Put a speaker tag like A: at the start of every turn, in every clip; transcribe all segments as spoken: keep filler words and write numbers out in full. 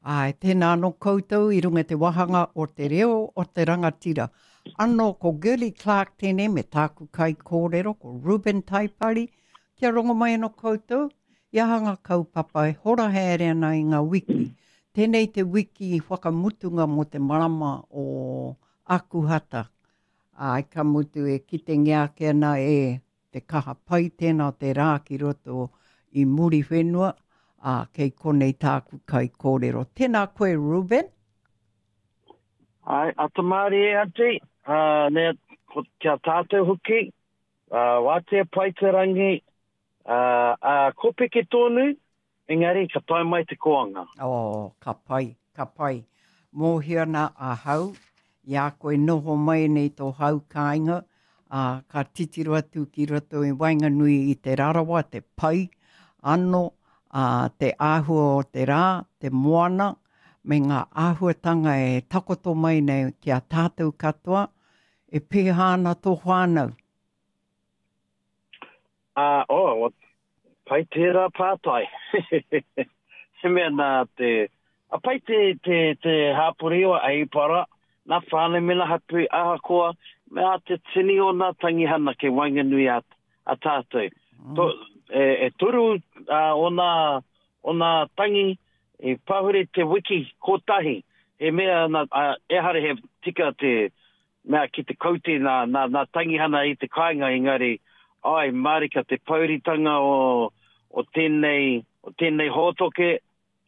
A: Āe, tēnā anō koutou i runga i te wāhanga o Te Reo o te Rangatira. Anō ko Girlie Clarke tēnei me tāku kaikōrero ko Reuben Taipari. Kia rongo mai anō koutou i aha ngā kaupapa e hora haere ana i ngā wiki. Tēnei te wiki whakamutunga mō te marama o Akuhata. Āe, ka mutu e kitengia ake ana e te kaha pai tēnā o te rā ki roto i Muriwhenua, ā, kei konei tāku kaikōrero. Tēnā koe, Reuben.
B: Āe, ata mārie aunty, uh, nea, ko, kia tātou hoki, uh, wātea pai te rangi, uh, uh, kōpeke tōnu, engari ka tae mai te koanga.
A: Oh, ka pai, ka pai. Mōhio ana ahau, i a koe noho mai nei tō hau kāinga, ā, ka titiro atu ki roto i waenganui i Te Rarawa, te pai anō, ā, te āhua o te rā, te moana, me ngā āhuatanga e takoto mai nei ki a tātou katoa, e pēhā ana tō whānau?
B: Ā, oh, pai tērā pātai. He mea nā te, a pai te, te, te hāpori o Ahipara, nā whānau me nā hapū, ahakoa, me a te tini o nā tangihana kei waenganui a, a tātou. Mm. To, e, e toru uh, o nā, o nā tangi e pahure te wiki kotahi. He mea, nā, uh, ehara he tika te mea ki te kaute nā, nā, nā tangihana i te kāinga, engari, ai, mārika te pouritanga o, o tēnei, o tēnei hōtoke,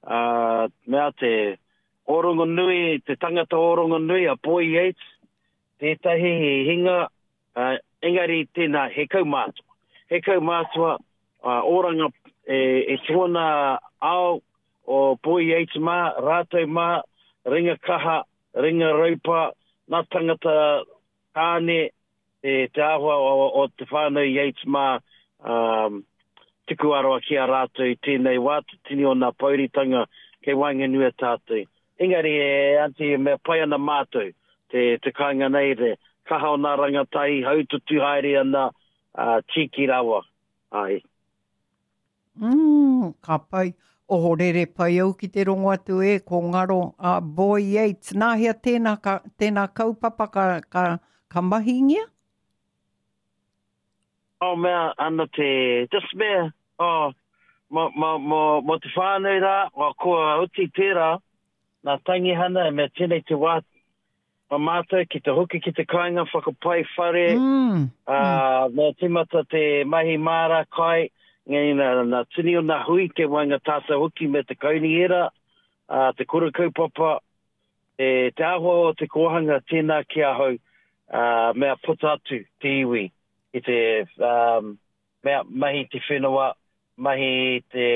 B: uh, mea te orongonui, te tangata orongonui a Boy Yates, tētahi he hinga, uh, engari tēnā he kaumātua. He kaumātua, uh, oranga e, e tōna ao o Boy Yates mā, rātou mā, ringa kaha, ringa raupa, nā tangata tāne, te, te āhua o, o te whānau Yates mā, um, tuku aroa ki a rātou i tēnei wā, te tini o nā pouritanga kei waenganui a tātou. Engari e aunty, e mea pai ana mātou, te, te kāinga nei, te kaha o nā rangatahi, haututu haere ana, uh, tīki rawa. Ai.
A: Mm, ka pai. Ohorere pai au ki te rongo atu e, ko ngaro a Boy Yates. Nā hea tēnā, ka, tēnā kaupapa ka, ka, ka mahingia?
B: Oh, mea, ana te, just mea, oh, mo, mo, mo, mo te whānau rā, o, kua oti tērā, nā tangihana, e mea tēnei te wā, ma mātou ki te hoki ki te kāinga whakapai whare, mm, uh, mm. mea tīmata te mahi māra kai, ngei nā, nā tini o nā hui ke waenga tātou hoki me te kaunihera, uh, te kura kaupapa, e, te āhua o te kōhanga tēnā ki ahau, uh, mea puta atu te iwi i te um, mea mahi te whenua, mahi te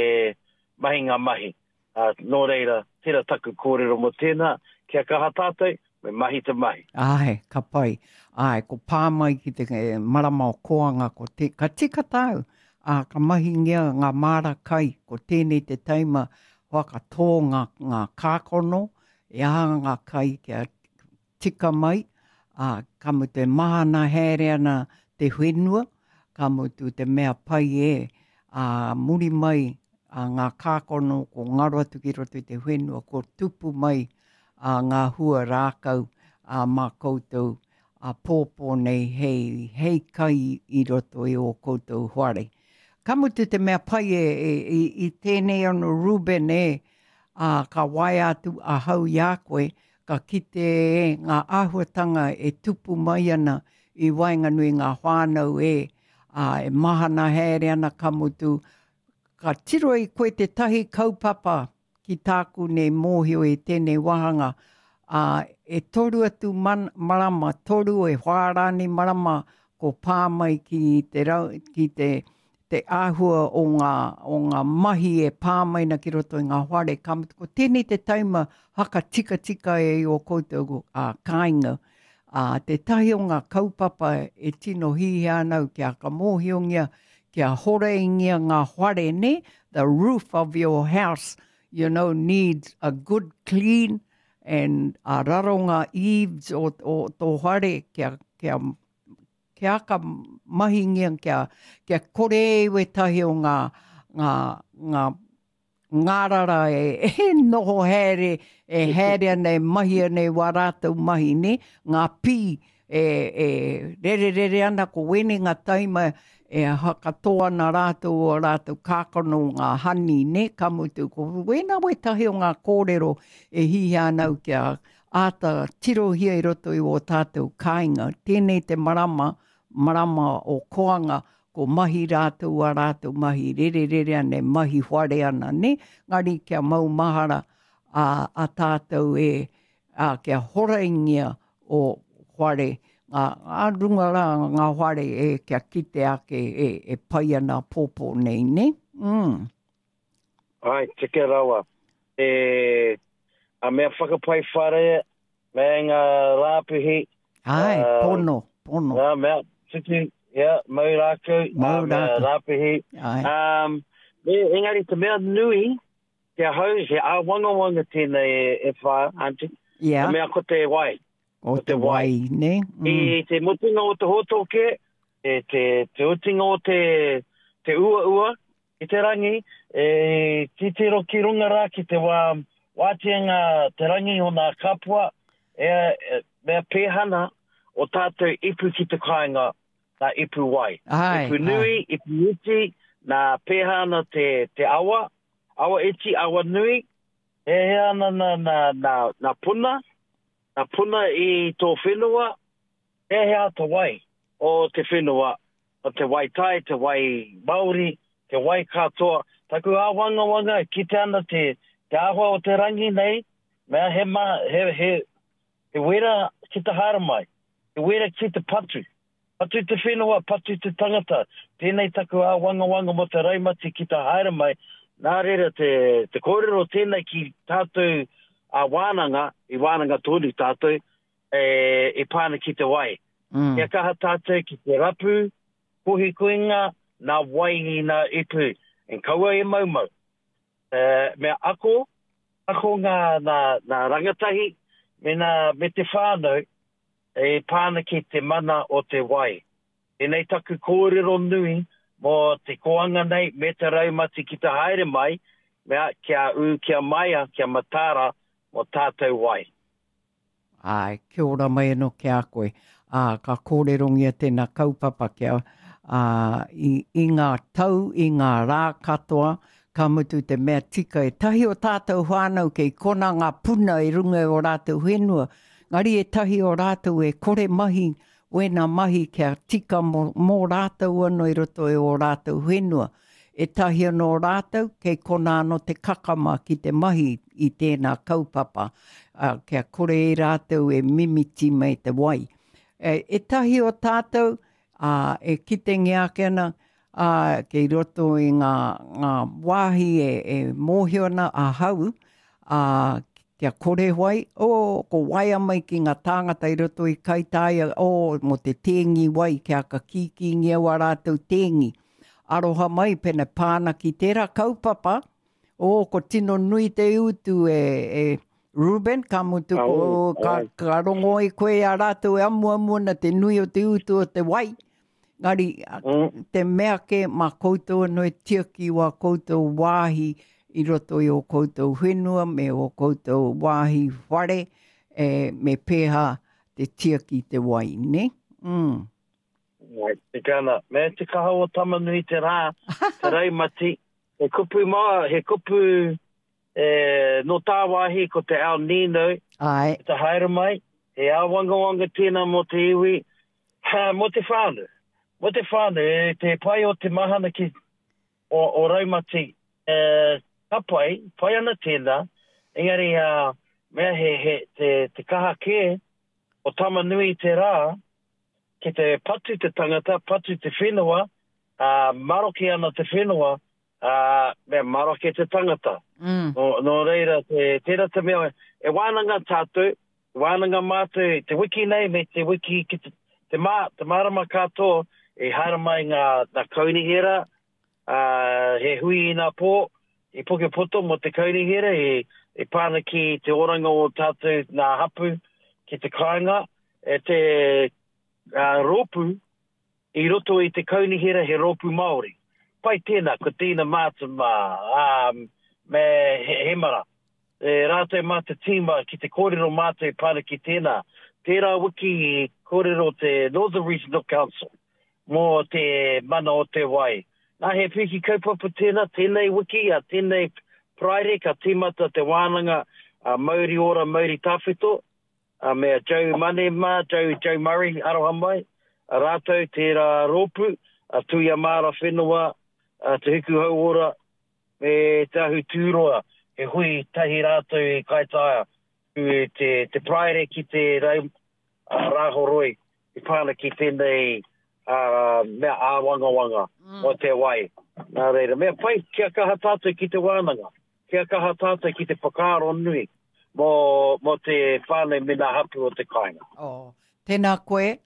B: mahi ngā mahi. Uh, nō reira, tērā taku kōrero mō tēnā, kia kaha tātou, me mahi te mahi.
A: Āe, ka pai. Āe, ko pā mai ki te marama o Koanga, ko te, ka tika tāu, ā, ka mahingia ngā māra kai, ko tēnei te taima whakatō ngā, ngā kākono, e aha ngā kai kia tika mai, ā, ka mutu e mahana haere ana te whenua, ka mutu te mea pai e, ā, muri mai a ngā kākono ko ngaro atu ki roto i te whenua, ko tupu mai a ngā hua rākau a mā koutou a pōpō nei hei, hei kai i roto i ō koutou whare. Ka mutu te mea pai e, e, i, i tēnei ano Reuben e, a, ka waea atu ahau i a koe, ka kite e ngā āhuatanga e tupu mai ana i waenganui ngā whānau e, a, e mahana haere ana ka mutu, ka tiro i koe tētahi kaupapa ki tāku nei mōhio i tēnei wāhanga, ā, e toru atu man, marama, toru e whā rānei marama ko pā mai ki te, rau, ki te, te āhua o ngā, o ngā mahi e pā mai na ki roto i ngā whare. Ka mutu, ko tēnei te taima haka tikatika e i o koutou ā, kāinga. Ā, tētahi o ngā kaupapa e tino hihia ana au kia whakamōhiongia, kia horeingia ngā whare, ne? The roof of your house, you know, needs a good clean and a raro ngā eaves o, o tō whare kia, kia, kia ka mahingia, kia, kia kore e wētahi o ngā, ngā, ngā, ngārara e, e noho haere, e haere ana, e mahi ana i wā rātou mahi, ne? Ngā pī e, e rererere ana, ko wēnei ngā taima e hakatō ana rātou o rātou kākano ngā hani, ne? Ka mutu, ko wēnā wētahi o ngā kōrero e hihia ana au kia āta tirohia i roto i o tātou kāinga. Tēnei te marama, marama o koanga, ko mahi rātou a rātou mahi rererere ana, e mahi whare ana, ne? Ngari kia mau mahara a, a tātou e, a, kia horaingia o whare, ngā, ngā runga rā, ngā whare e kia kite ake e, e pai ana pōpō nei, ne? Mm.
B: Ai, tika rawa. E, a mea whakapai whare, me ngā rāpihi.
A: Ai, uh, pono, pono.
B: Ngā mea, tutu, yeah, mau rākau,
A: mau
B: rākau. Rāpihi.
A: Ai.
B: Um, me, engari te mea nui, ki ahau, he āwangawanga tēnei e, e whā, auntie.
A: Yeah.
B: Te mea ko te wai.
A: O te wai, ne?
B: Mm. I te mutunga o te hōtoke, e te, te utinga o te, te ua ua, i te rangi, e titiro ki runga rā ki te wā, wātia ngā te rangi o ngā kapua, e, e, mea pēhana o tātou ipu ki te kāinga, nā ipu wai.
A: Ai,
B: ipu nui,
A: ai.
B: Ipu iti, nā pēhana te, te awa, awa iti, awa nui, e hea ana nā, nā, nā, nā puna, nā puna i tō whenua, e hea te wai o te whenua, o te wai tai, te wai Māori, te wai katoa. Taku āwangawanga, kite ana te, te āhua o te rangi nei, mea he, ma, he, he, he wera ki te haere mai, he wera ki te patu. Patu te whenua, patu te tangata. Tēnei taku āwangawanga mō te raumati ki te haere mai. Nā reira te, te kōrero tēnei ki tātou a wānanga, i wānanga tonu tātou, e, e pāna ki te wai.
A: Mm.
B: Kia kaha tātou ki te rapu, kohikoinga, nā wai i nā ipu, en kaua e maumau. E, mea ako, ako ngā, nā, nā rangatahi, me, nā, me te whānau, e pāna ki te mana o te wai. Tēnei taku kōrero nui mō te koanga nei, me te raumati ki te haere mai, mea kia ū, kia maia, kia matara, mō tātou wai.
A: Ai, kia ora mai anō ki a koe. Ā, ka kōrerongia tēnā kaupapa kia ā, i, i ngā tau, i ngā rā katoa, ka mutu te mea tika e tahi o tātou whānau kei kona ngā puna i runga i o rātou whenua. Ngari e tahi o rātou e kore mahi, wēnā mahi kia tika mō, mō rātou anō i roto i o rātou whenua. E tahi anō rātou, kei kona anō te kakama ki te mahi i tēnā kaupapa, uh, kia kore e rātou e mimiti mai te wai. E, e tahi o tātou, uh, e kitengia ake ana, uh, kei roto i ngā, ngā wāhi e, e mōhio ana ahau, uh, kia kore wai, oh, ko waia mai ki ngā tāngata i roto i Kaitaia, oh, mō te tēngi wai, kia ka kīkīngia wā rātou tēngi. Aroha mai pene pāna ki tērā kaupapa, oh, ko tino nui te utu e, e Ruben, ka mutu ko, ka, ka rongo i koe a rātou e amuamu ana te nui o te utu o te wai. Ngari,
B: Mm.
A: te mea ke mā koutou anō e tiaki wā koutou wāhi i roto i o koutou whenua me o koutou wāhi whare, e, me pēhā te tiaki te wai, ne? Mm.
B: Ai, tika ana. Me te kaha o Tamanui te rā, te raumati, he kupu mā, he kupu e, no tāwāhi ko te El Nino,
A: Ai.
B: te haere mai, he āwangawanga tēnā mō te iwi, ha, mō te whānau. Mō te whānau, e, te pai o te mahana ki o, o raumati, e, ka pai, pai ana tēnā, engari uh, mea he, he, te, te kaha kē o Tamanui te rā, ki te patu te tangata, patu te whenua, uh, maroke ana te whenua, uh, mea maroke te tangata.
A: Mm.
B: Nō, nō reira, te, tērā te mea, e wānanga tātou, wānanga mātou, te wiki nei me te wiki ki te, te, mā, te marama katoa, e haere mai ngā, ngā kaunihera, uh, he hui i nā pō, i Pukepoto mō te kaunihera, e, e pāna ki te oranga o tātou ngā hapu ki te kāinga, e te uh, rōpū i roto i te kaunihera he rōpū Māori. Pai tēnā, ko tēnā mātama, um, me Hemara. E rātou mā te tīma ki te kōrero mātou e pā ana ki tēnā. Tērā wiki i kōrero te Northern Regional Council mō te mana o te wai. Nā, he piki kaupapa tēnā, tēnei wiki, a tēnei Paraire ka tīmata te wānanga a Mauri Ora Mauri Tawhito, a me a Joe Mane mā, Joe, Joe Murray, aroha mai, a rātou tērā rōpū, a Tuia Māra Whenua, a Te Hiku Hauora, me Te Ahu Tūroa, he hui tahi rātou i Kaitaia, te, te Paraire ki te rau, a Rāhoroi, i pā ana ki tēnei a, mea āwangawanga mm. o te wai. Nā reira, mea pai, kia kaha tātou ki te wānanga, kia kaha tātou ki te whakaaro nui mō, mō te whānau me ngā hapū o te kāinga.
A: Oh, tēnā koe,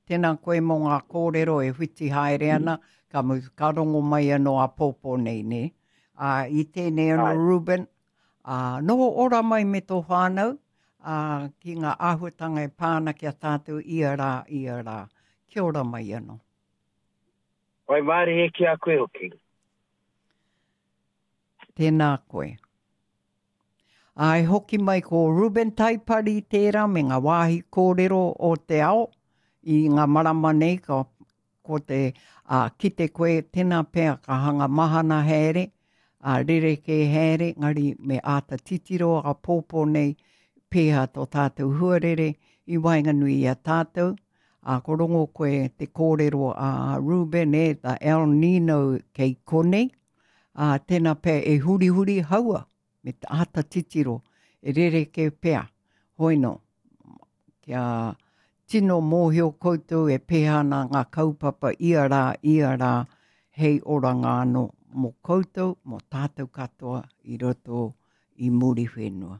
A: tēnā koe mō ngā kōrero e whiti haere ana, ka, mu, ka rongo mai anō āpōpō nei, ne? Uh, i tēnei anō, Ruben, uh, noho ora mai me tō whānau, uh, ki ngā āhuatanga e pā ana ki a tātou ia rā, ia rā. Kia ora mai anō.
B: Waimarie ki a koe hoki.
A: Tēnā koe. Ai hoki mai ko Ruben Taipari tērā me ngā wāhi kōrero o te ao i ngā marama nei ka, ko te a, kite koe tēnā pea ka hanga mahana haere, a, rerekē haere, ngari me āta titiro āpōpō nei pēhea tō tātou huarere i waenganui i a tātou. A, ko rongo koe te kōrero a Ruben e, the El Nino kei konei. A, tēnā pea e hurihuri haua me te āta titiro e rerekē pea. Hoino, kia tino mōhio koutou e pēhea ana ngā kaupapa ia rā, ia rā, hei oranga anō mō koutou, mō tātou katoa i roto i Muriwhenua.